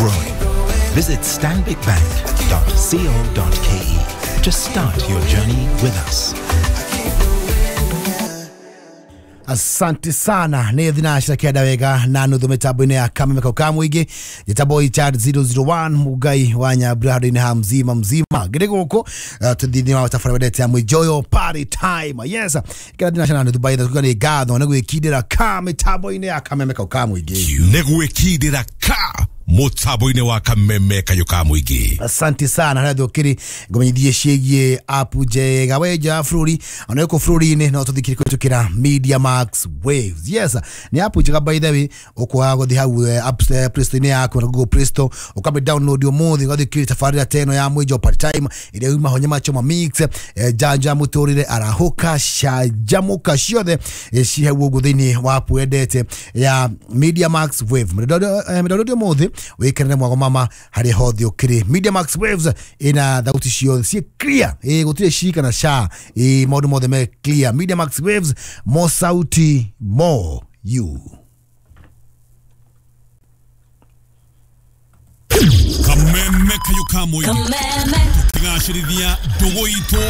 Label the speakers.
Speaker 1: growing. Visit stanbicbank.co.ke to start your journey with us.
Speaker 2: Asante sana nä thinacira kenda wega na nuthu mä ya kameme kau ka må ingä njätagwo Richard 001 Mugai wa Nyambura handå-inä ha mzima mzima ngä rä gå kå tå thä wa tabarä wendete ya Mwijoyo party time. Yes, kera thinacira na nuthu baitha kuga nä ngatho nä gwä kindä ra ka mä tambo-inä ya kameme kau ka må ingä.
Speaker 3: Nä gwä kindä ra ka mutambo-inĩ wa kameme kayũ ka mũingĩ.
Speaker 2: Asante sana harĩa thũkĩrĩ ngũmenyithie ciĩgiĩ app njega we nja wa bũrũri ona gũkũ bũrũri-inĩ no tũthikĩrĩrie kũhĩtũkĩra Media Max Waves. Yes, nĩ app njega by the way, ũkwaga gũthiĩ hau app Play Store-inĩ yaku na Google Play Store ũkamĩ download ũmũthĩ ũgathikĩrĩria tabarĩra ta ĩno ya Mwijo Party Time ĩrĩa yuma ho Nyama Choma Mix, Janja Mũtũrĩre, Arahũka, Canjamũka, ciothe ci hau ũguo thĩinĩ wa app wendete ya Media Max Wave. Mĩdownload ũmũthĩ wikenere mwago mama harä hothe å. Media Max Waves ina thauti ciothe ciĩ clear, gũtirĩ ci kana sha, maũndũ mothe me clear. Media Max Waves, more sauti, more you.
Speaker 3: Kameme kayũ ka mũingĩ tũkĩgacĩrithia ndũgũ itũ.